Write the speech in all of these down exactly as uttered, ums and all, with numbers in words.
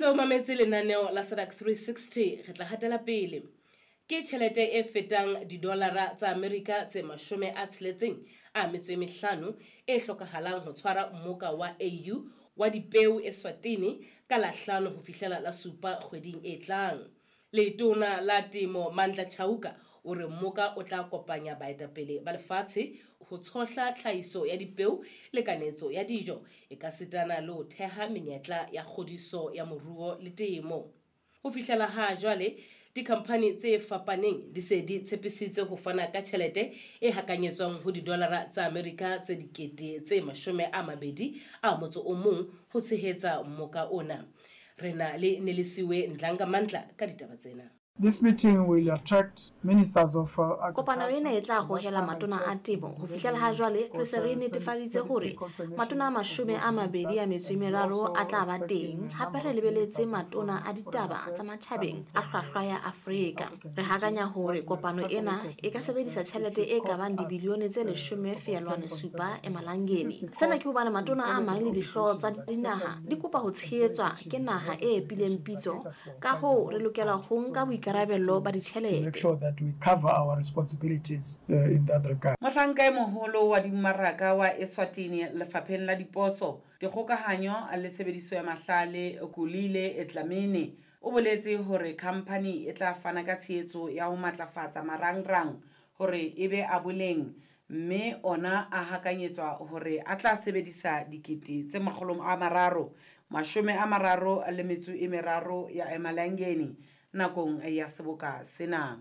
Ntse o mametse lenaneo la SADC three sixty, re tla hatela pele. Ke tjhelete e fetang didolara tsa Amerika tse mashome a tsheletseng a metso e mehlano e hlokahalang ho tshwara mmoka wa A U wa dipeo Eswatini ka la hlano ho fihlela la supa kgweding e tlang. Letona la Temo Mandla Chauka o re mmoka o tla kopanya baetapele ba lefatshe ho tshohla tlhahiso ya dipeo le kanetso ya dijo e ka sitana le ho theha menyetla ya kgodiso ya moruo le temo. Ho fihlela ha jwale dikhamphani tse fapaneng di se di tshepisitse ho fana ka tjhelete e hakanyetswang ho didolara tsa Amerika tse dikete tse mashome a mabedi a motso o mong ho tshehetsa mmoka ona. Re na le Nelisiwe Ndlanga Mandla ka ditaba tsena. This meeting will attract ministers of, uh, Kopano ena e tla hohela matona a temo. Ho fihlela ha jwale re se re netefaditse hore matona a mashome a mabedi a metso e meraro a tla ba teng. Hape re lebeletse matona a ditaba tsa matjhabeng a hlwahlwa ya Afrika. Re hakanya hore kopano ena e ka sebedisa tjhelete e ka bang dibilione tse leshome feelwane supa emalangeni. Sena ke hobane matona a mang le dihlooho tsa dinaha di kopa ho tshehetswa ke naha e epileng pitso. Ka hoo re lokela ho nka boikarabello ba ditjhelete. Make sure that we cover our responsibilities, uh, in that regard. Mohlanka e moholo wa dimmaraka wa Eswatini lefapheng la diposo, dikgokahanyo le tshebediso ya mahlale Kulile Dlamini o boletse hore khamphani e tla fana ka tshehetso ya ho matlafatsa marangrang hore e be a boleng, mme ona a hakanyetswa hore a tla sebedisa dikete tse makgolo a mararo, mashome a mararo le metso e meraro ya emalangeni nakong ya seboka sena.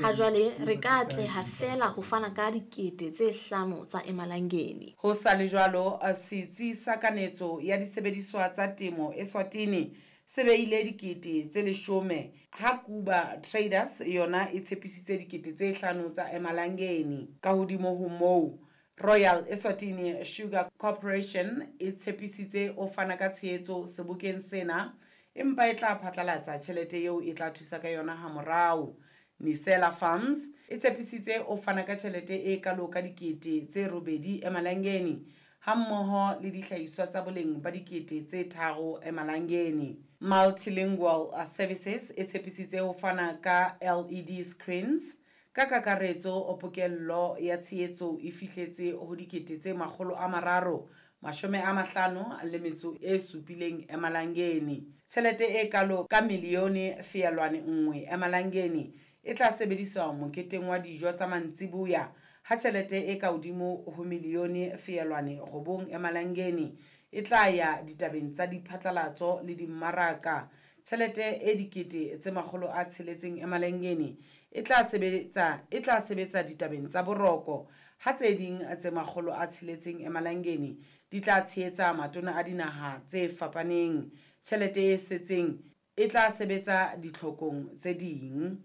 Ha jwale re ka atleha feela ho fana ka dikete tse hlano tsa emalangeni. Ho sa le jwalo, setsi sa kanetso ya disebediswa tsa temo Eswatini se beile dikete tse leshome, ha Kuba Traders yona e tshepisitse dikete tse hlano tsa emalangeni. Ka hodimo ho moo, Royal Eswatini Sugar Corporation e tshepisitse o fana ka tshehetso sebokeng sena, empa e tla phatlalatsa tjhelete eo e tla thusa ka yona hamorao. Nisela Farms e tshepisitse o fana ka tjhelete e kalo ka dikete tse robedi emalangeni, hammoho le dihlahiswa tsa boleng ba dikete tse tharo emalangeni. Multilingual Services e tshepisitse ho fana ka L E D screens. Ka kakaretso, pokello ya tshehetso e fihletse ho dikete tse makgolo a mararo mashome a mahlano le metso e supileng emalangeni. Tjhelete e kalo ka milione feelwane nngwe emalangeni e tla sebediswa moketeng wa dijo tsa mantsiboya, ha tjhelete e ka hodimo ho milione feelwane robong emalangeni e tla ya ditabeng tsa diphatlalatso le dimmaraka. Tjhelete e dikete tse makgolo a tsheletseng emalangeni e tla sebetsa, e tla sebetsa ditabeng tsa boroko, ha tse ding tse makgolo a tsheletseng emalangeni di tla tshehetsa matona a dinaha tse fapaneng. Tjhelete e setseng e tla sebetsa ditlhokong tse ding.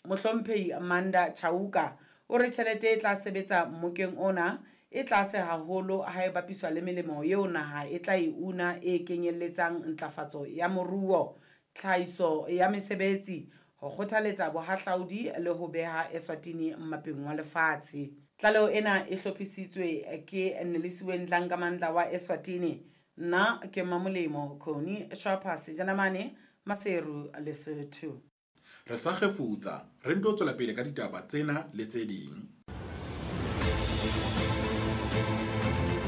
Mohlomphehi Amanda Chauka o re tjhelete e tla sebetsa mmokeng ona e tlase haholo ha e bapiswa le melemo eo naha e tla e una e kenyelletsang ntlafatso ya moruo, tlhahiso ya mesebetsi, ho kgothaletsa bohahlaudi le ho beha Eswatini mmapeng wa lefatshe. Tlaleho ena e hlophisitswe ke Nelisiwe Ndlanga Mandla wa Eswatini. Nna ke Mamolemo Khoni Shapa Sejanamane, Maseru, Lesotho. Re sa kgefutsa, re nto tswela pele ka ditaba tsena le tse ding.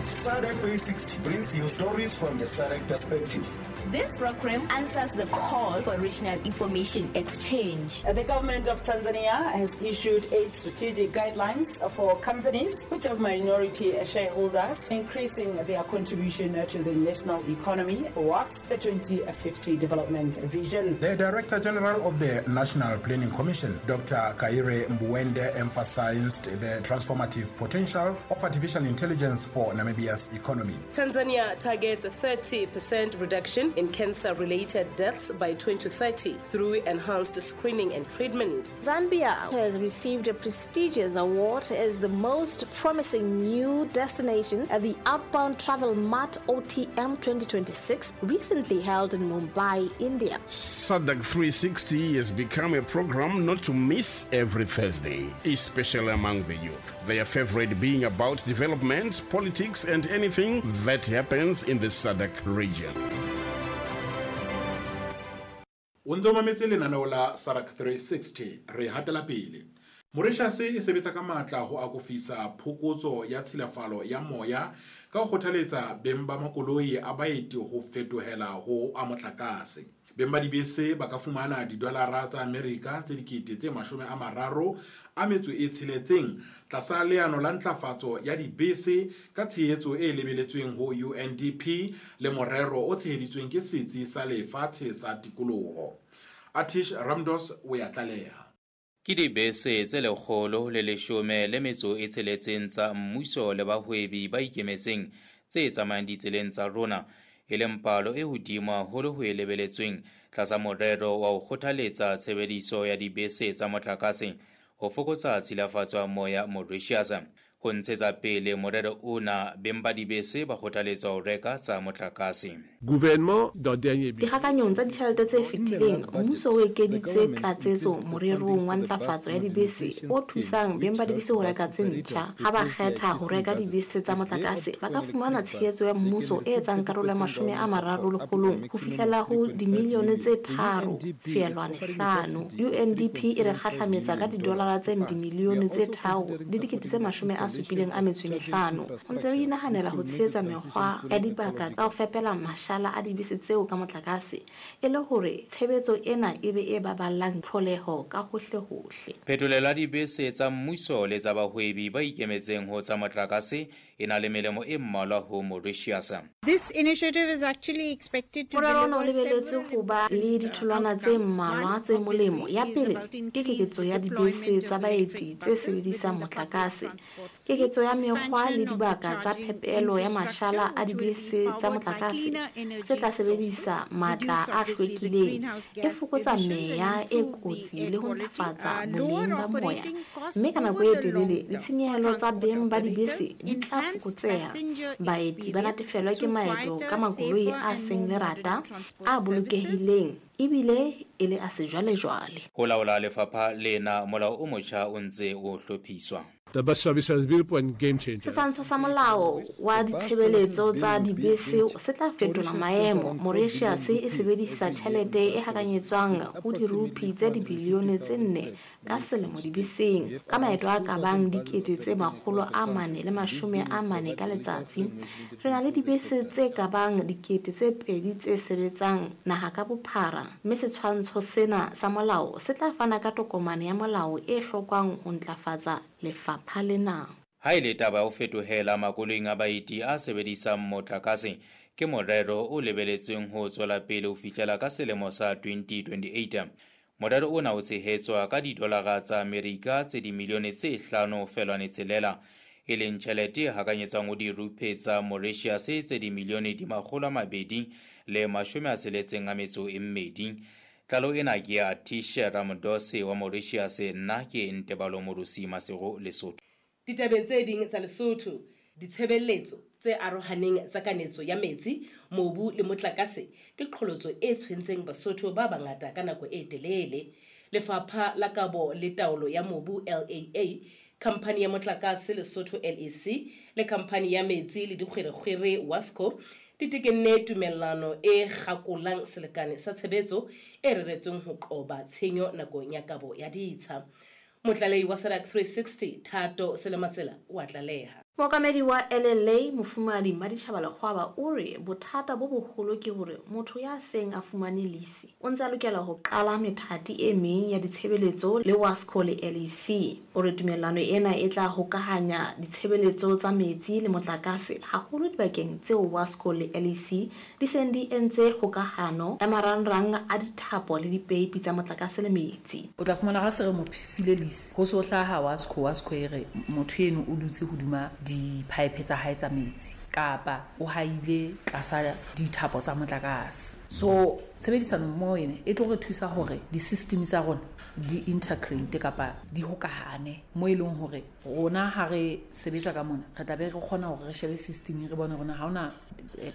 SADC three sixty brings you stories from the SADC perspective. This program answers the call for regional information exchange. The government of Tanzania has issued eight strategic guidelines for companies which have minority shareholders, increasing their contribution to the national economy towards the twenty fifty development vision. The Director General of the National Planning Commission, Doctor Kaire Mbuende, emphasized the transformative potential of artificial intelligence for Namibia's economy. Tanzania targets a thirty percent reduction in cancer-related deaths by twenty thirty through enhanced screening and treatment. Zambia has received a prestigious award as the most promising new destination at the Outbound Travel Mart O T M twenty twenty-six, recently held in Mumbai, India. SADC three sixty has become a program not to miss every Thursday, especially among the youth. Their favorite being about development, politics, and anything that happens in the SADC region. O ntse o mametse lenaneo la SADC three sixty, re hatela pele. Mauritius e sebetsa ka matla ho akofisa phokotso ya tshilafalo ya moya ka ho kgothaletsa beng ba makoloi a baeti ho fetohela ho a motlakase. Beng ba dibese ba ka fumana didolara tsa Amerika tse dikete tse mashome a mararo a metso e tsheletseng tlasa leano la ntlafatso ya dibese ka tshehetso e lebeletsweng ho U N D P le morero o tsheheditsweng ke Setsi sa Lefatshe sa Tikoloho. Atish Ramdos o ya tlaleha. Ke dibese tse lekgolo le leshome le metso e tsheletseng tsa mmuso le bahwebi ba ikemetseng tse tsamayang ditseleng tsa rona, e leng palo e hodimo haholo ho e lebeletsweng tlasa morero wa ho kgothaletsa tshebediso ya dibese tsa motlakase ho fokotsa tshilafatso ya moya Mauritius. Ho ntshetsa pele morero ona, beng ba dibese ba kgothaletswa ho reka tsa motlakase. Gouvernement dans dernier budget. Dikgakanyong tsa ditjhelete tse fetileng, mmuso o ekeditse tlatsetso morerong wa ntlafatso ya dibese o thusang beng ba dibese ho reka tse ntjha. Ha ba kgetha ho reka dibese tsa motlakase, ba ka fumana tshehetso ya mmuso e etsang karolo ya mashome a mararo lekgolong ho fihlela ho dimilione tse tharo feelwane hlano. U N D P e re kgahlametsa ka didolara tse dimilione tse tharo le dikete tse mashome a supileng a metso e mehlano. Ho ntse re inahanela ho tshehetsa mekgwa ya dibaka tsa ho fepela mashala a dibese tseo ka motlakase e le hore tshebetso ena e be e baballang tlholeho ka hohlehohle. Phetolelo ya dibese tsa mmuso le tsa bahwebi ba ikemetseng ho tsa motlakase e na le melemo e mmalwa ho Mauritius. This initiative is actually expected to Morero ona o lebeletswe ho ba le ditholwana tse mmalwa tse molemo. Ya pele ke keketso ya dibese tsa baeti tse sebedisang motlakase, keketso ya mekgwa le dibaka tsa phepelo ya mashala a dibese tsa motlakase tse tla sebedisa matla a hlwekileng, e fokotsa meya e kotsi le ho ntlafatsa boleng ba moya, mme ka nako e telele ditshenyehelo tsa beng ba dibese di tla fokotseha. Baeti ba natefelwa ke maeto ka makoloi a seng lerata, a bolokehileng ebile e le a sejwalejwale. Ho laola lefapha lena, molao o motjha o ntse o hlophiswa. The bus services bill point game changer. Setshwantsho sa molao wa ditshebeletso tsa dibese se tla fetola maemo. Mauritius e sebedisa tjhelete e hakanyetswang ho dirupi tse dibilione tse nne ka selemo dibeseng, ka maeto a ka bang dikete tse makgolo a mane le mashome a mane ka letsatsi. Re na le dibese tse ka bang dikete tse pedi tse sebetsang naha ka bophara, mme setshwantsho sena sa molao se tla fana ka tokomane ya molao e hlokwang ho ntlafatsa lefapha lena. Ha e le taba ya ho fetohela makoloing a baeti a sebedisang motlakase, ke morero o lebeletsweng ho tswela pele ho fihlela ka selemo sa twenty twenty-eight. Morero ona o tshehetswa ka didolara tsa Amerika tse dimilione tse hlano feelwane tshelela, e leng tjhelete e hakanyetswang ho dirupe tsa Mauritius tse dimilione di makgolo a mabedi le mashome a tsheletseng a metso e mmedi. Tlalo ena ke ya Atish Ramdose wa Mauritius, nna ke Ntebalo Morusi Masego, Lesotho. Ditabeng tse ding tsa Lesotho, ditshebeletso tse arohaneng tsa kanetso ya metsi, mobu le motlakase ke qholotso e tshwentseng Basotho ba bangata ka nako e telele. Lefapha la Kabo le Taolo ya Mobu L A A, khamphani ya motlakase Lesotho L E C le khamphani ya metsi le dikgwerekgwere WASCO di tekenne tumellano e kgakolang selekane sa tshebetso e reretsweng ho qoba tshenyo nakong ya kabo ya ditsha. Motlalehi wa SADC three sixty Thato Selematsela o a tlaleha. Mookamedi wa L L A Mofumahadi Mmaditjhaba Lekgwaba o re bothata bo boholo ke hore motho ya seng a fumane lease o ntse a lokela ho qala methati e meng ya ditshebeletso le WASCO le L E C. O re tumellano ena e tla hokahanya ditshebeletso tsa metsi le motlakase haholo dibakeng tseo WASCO le L E C di seng di entse kgokahano ya marangrang a dithapo le dipeipi tsa motlakase le metsi. O tla fumana ha se re mo file lease ho so hlaha WASCO, WASCO e re motho eno o dutse hodima di-pipe tsa hae tsa metsi kapa o haile tlasa dithapo tsa motlakase. So tshebedisano mmoho ena e tlo re thusa hore di-system tsa rona di integrate kapa di hokahane mo e leng hore rona ha re sebetsa ka mona re tla be re kgona hore re shebe system re bone rona ha hona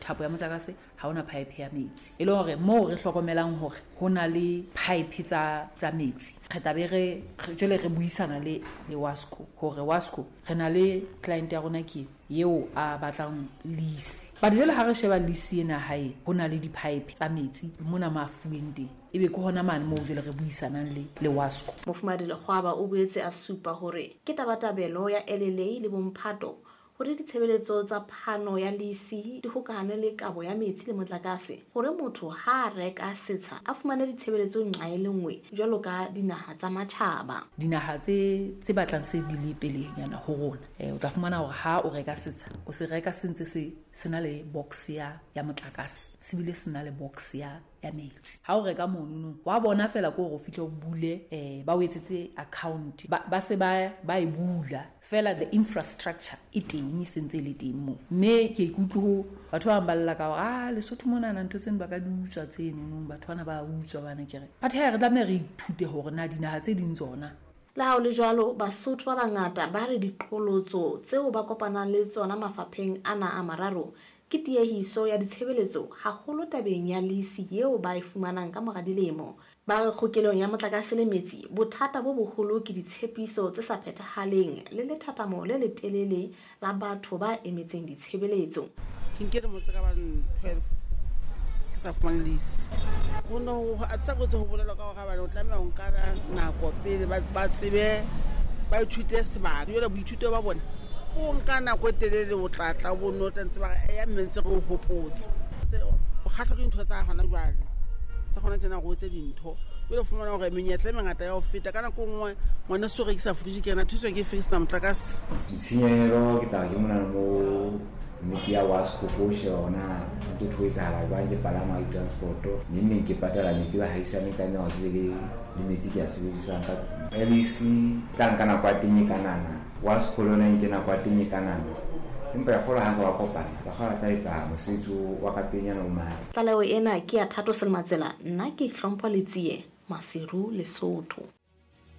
thapo ya motlakase, ha hona pipe ya metsi, e le hore moo re hlokomelang hore ho na le pipe tsa tsa metsi re tla be re jwale re buisana le le WASCO hore WASCO re na le client ya rona ke eo a batlang lease But jwale ha re sheba lease ena hae, ho na le di-pipe tsa metsi mona mo a fuweng teng. Ebe ke hona mane moo jwale re buisanang le le WASCO. Mofumahadi Lekgwaba o boetse a supa hore ke tabatabelo ya L L A le bomphato hore ditshebeletso tsa phano ya lease di hokahane le kabo ya metsi le motlakase, hore motho ha a reka setsha a fumane ditshebeletso nqa e le nngwe jwalo ka dinaha tsa matjhaba. Dinaha tse tse batlang se di le pelenyana ho rona, eh o tla fumana hore ha o reka setsha o se reka se ntse se se na le box ya ya motlakase, se bile se na le box ya ya metsi. Ha o reka monono wa bona fela ke hore o fihle o bule, eh ba o etsetse account, ba ba se ba ba e bula fela, the infrastructure e teng, e sentse le teng moo. Mme ke ikutlwe ho batho ba bang ba lla ka hore ah Lesotho monana ntho tseno ba ka di utswa tseno, batho bana ba utswa bana ke re. But ha re tlameha re ithute hore na dinaha tse ding tsona. Le ha ho le jwalo, Basotho ba bangata ba re diqholotso tseo ba kopanang le tsona mafapheng ana a mararo ke tiehiso ya ditshebeletso, haholo tabeng ya lease eo ba e fumanang ka mora dilemo. Ba re kgokelong ya motlakase le metsi, bothata bo boholo ke ditshepiso tse sa phethahaleng le lethathamo le letelele la batho ba emetseng ditshebeletso. Ke nke dilemo tse ka bang twelve ke sa fumane lease. Ho no ho tsa kotsi ho bolela ka hore bana o tlameha ho nka nako pele ba ba tsebe ba ithute sebaka. Jwale boithuto ba bona o nka nako e telele, o tla tla o bonno tla ntse ba re ya mme ntse re o hopotse. O kgahlwa ke dintho tsa hona jwale, tsa hona tjena go tse dintho. Jwale o fumana hore menyetla e mengata ya ho feta ka nako nngwe ngwana so rekisa fridge ke yena thuso ke fix na motlakase. Ditshenyehelo ke tla ke mona mo mme ke ya WASCO ko sheba hore na ho ntho ho etsahala jwang, ke palama di-transport-o neng neng ke patala metsi ba haisane ka nna ke be le le metsi ke a sebedisang ka tlung. L E C tla nka nako ya teng e kanana, WASCO le yona e nke nako ya teng e kanana, empa ya kgolwa ha re wa kopana ka kgona tla etsa mosebetsi wa ka pelenyana o matla. Tlaleho ena ke ya Thato Selmatsela, nna ke Hlompho Letsie, Maseru, Lesotho.